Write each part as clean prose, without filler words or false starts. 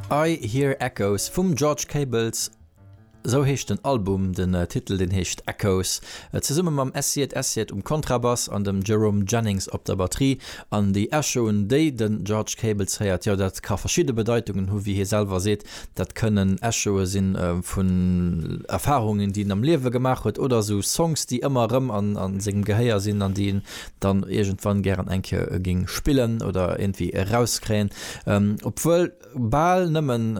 I Hear Echoes vum George Cables, esou heescht den Album. Den Titel deen heescht Echoes. Zesumme mam Essiet Essiet um Kontrabass an dem Jerome Jennings op der Batterie. An déi Echoen déi den George Cables héiert, jo dat ka verschidde Bedeitungen hu wéi hie selwer seet. Dat kënnen Echoe sinn vun Erfarungen déi en am Liewe gemaach huet oder esou Songs déi ëmmer erëm an sengem Gehéier sinn an déi en dann iergendwann gären eng Kéier géing spillen oder iergendwéi erauskréien. Obwuel bal nëmmen,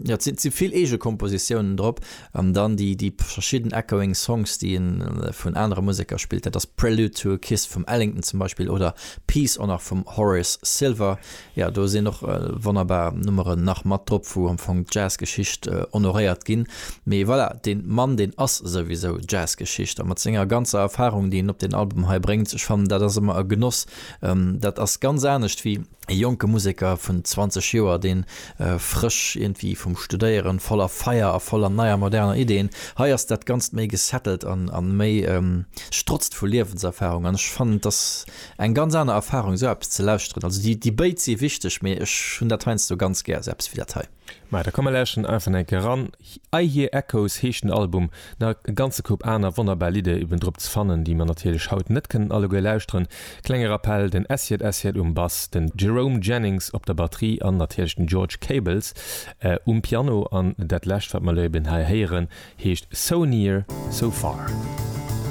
jo et si vill eege Kompositiounen drop an dann déi déi verschidden echoing Songs déi en vun anere Museker spillt, dat ass Prelude to a Kiss vum Ellington zum Beispill oder Peace och nach vum Horace Silver. Jo, do sinn och wonnerbar Nummeren nach mat drop, wou am Fong d'Jazzgeschicht honoréiert ginn. Mee voilà, dee Mann, deen ass souwisou Jazzgeschicht a mat senger ganzer Erfarung, déi en op deen Album hei bréngt, ech fannen, dat ass ëmmer e Genoss. Dat ass ganz anescht wéi e jonke Museker vun 20 Joer, dee frësch iergendwéi vum Studéieren, voller Feier a voller neier moderner Ideeën. Hei ass dat Ganzt méi gesettelt an méi strotzt vu Liewenserfarung an ech fannen, dass Eng ganz aner Erfahrung esou eppes ze lauschteren. Also déi déi béid si wichteg, mee ech hunn dat heiansdo ganz gär, esou eppes wéi dat hei. Maja, da komm mer lauschteren einfach eng Kéier eran. I Hear Echoes heescht den Album. Nach e ganze Koup aner wonnerbar Lidder eben drop ze fannen, déi mer natierlech haut net kënnen alleguer lauschteren. Klenge Rappell, den Essiet Essiet um Bass, den Jerome Jennings op der Batterie an natierlech den George Cables um Piano. An dat lescht wat mer elo eben hei héieren heescht So Near, So Far.